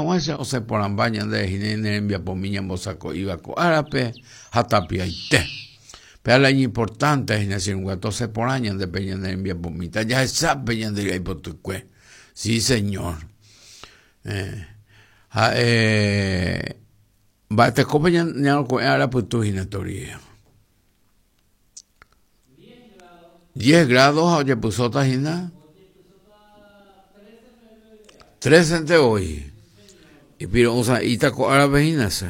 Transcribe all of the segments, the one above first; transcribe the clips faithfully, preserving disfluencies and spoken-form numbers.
Ikatuhag̃uáicha osẽporãmba ñande nerembiapomi ñambosako'íva ko árape ha tapiaite. Péa la iñimportante hína che irũnguéra osẽporã ñandepe ñane rembiapomíta jahechápe ñande ry'aipotykue. Sí, señor. Eh, ha'e mba'etekópe ñaroko'ẽ arapytu hína torie. diez grados ha ojepysóta hína trece voi. Ipiro'ysã'íta ko árape hína che.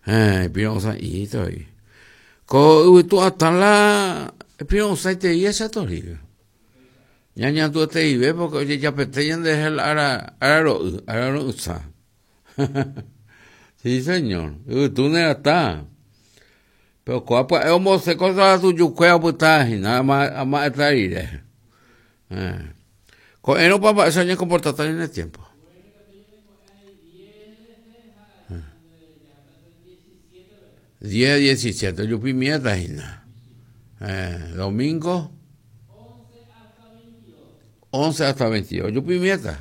Eh, ipiro'ysã'íta voi. Ko yvytu atã la ipiro'ysãitei esa torie. Ñañandueteive porque ojejapete ñanderehe la ára araro'y, araro'ysã. Sí, señor. Yvytu neratã. Pero ko'ã pya'e ombose cosa tujukue opyta hína ama'ẽta rire. Eh. Ko'ẽrõpa mba'éicha oñekomportata ñane tiempo. diez, diecisiete, ojupimiéta hína. Eh, domingo once hasta veintidós, ojupimiéta.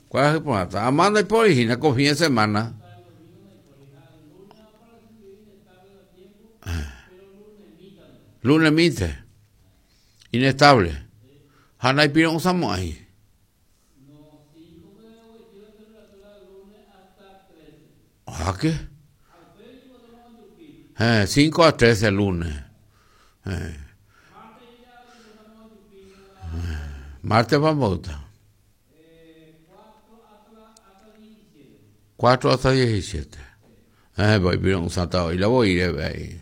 Kuarahy porãta. Ama ndaipóri hína ko fin de semana. Lunes minte. Inestable. Ha ndaipiro'ysãmo'ãi. Ah, ¿qué? Eh, cinco a trece lunes. Eh. Martes vamos a cuatro hasta diecisiete. Eh, voy pero un santa hoy la voy a ir ahí.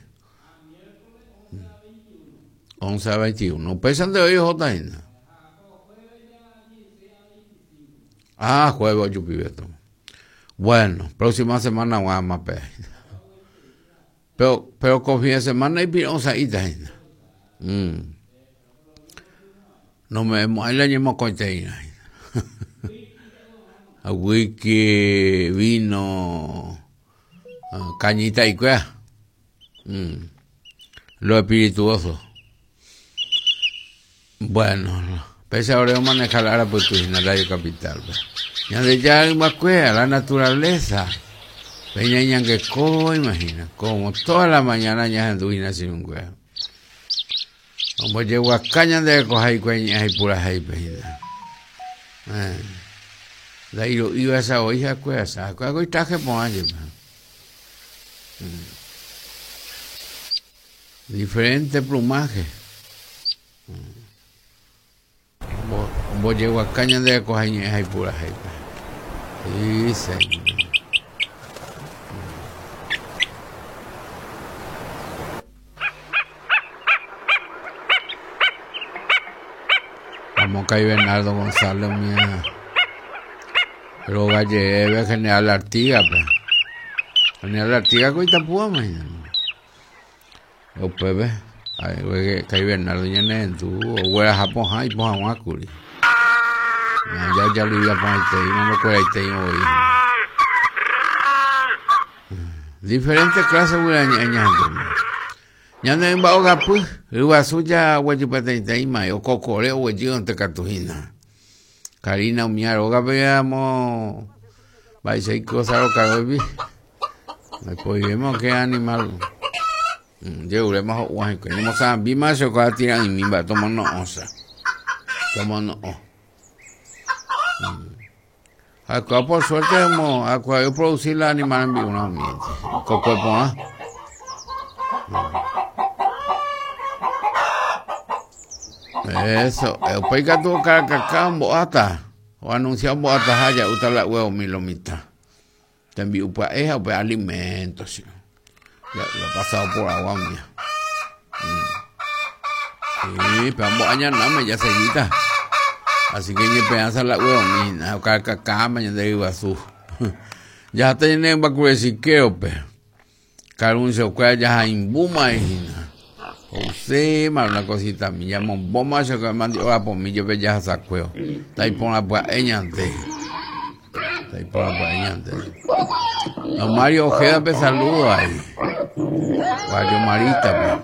once a veintiuno. Pesan de hoy J. Ah, jueves ocho pibeto. Bueno, próxima semana vamos a pe. Pero pero con fin de semana y pirosa y mm. No me ahí la ñemo coiteína. Whisky, vino, cañita y cuea. Mm. Lo espirituoso. Bueno, pese ahora manejar la pues en la Radio Capital. Ya de ya la naturaleza. Peña ñangueco, imagina, como toda la mañana ya anduina sin un huevo. Como llego a caña de coja y cueña y pura y pejina. De ahí lo iba esa oija cuesa, cuago y traje por. Diferente plumaje. Como llego a caña de coja y pura y. Sí, señor. Vamos a Bernardo González, mía. Pero Galleve, General Artigas, pues. General Artigas, coita púa, imagínate. O pebe, ay, que Bernardo ya no tú, o güera Japón, ay, poja guacuri. Ya, ya lo iba a poner, no lo cuera y te hoy. Diferentes clases, güera, ña, ña, ña, ña, pues, Iguazú ya huechipateiteima, o cocoreo huechido ante Cartujina. Karina umiaro, veamos, vais a ir cosas lo que después vemos qué animal. Llegaremos a Oaxaca, no saben, vi más o cada tira y mimba, toma no osa. Toma no. Acá por suerte hemos acá yo producir la animal en vivo, no miente. Coco pona. Eso, el peica tuvo caracacá boata, o anunciado boata haya, uta la huevo milomita. Te envío pa eja o alimento, sí. Ya lo he pasado por agua mía. Sí, pero ambos años no me ya seguita. Así que ni pedaza la huevo mina, o caracacá mañana de Iguazú. Ya tienen bacureciqueo, pe. Caruncio cuella ya imbuma hina. José, una cosita, me llamo bomba, se que mandó a por mí, yo veía sacueo. Está ahí por la pueñante. Está ahí por la pueñante. Don Mario Ojeda me saludo ahí. Mario Marita,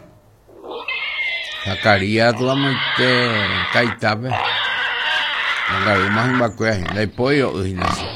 pues. Zacarías, toda muerte, Caita, pues. No, más en Bacuea, la pollo,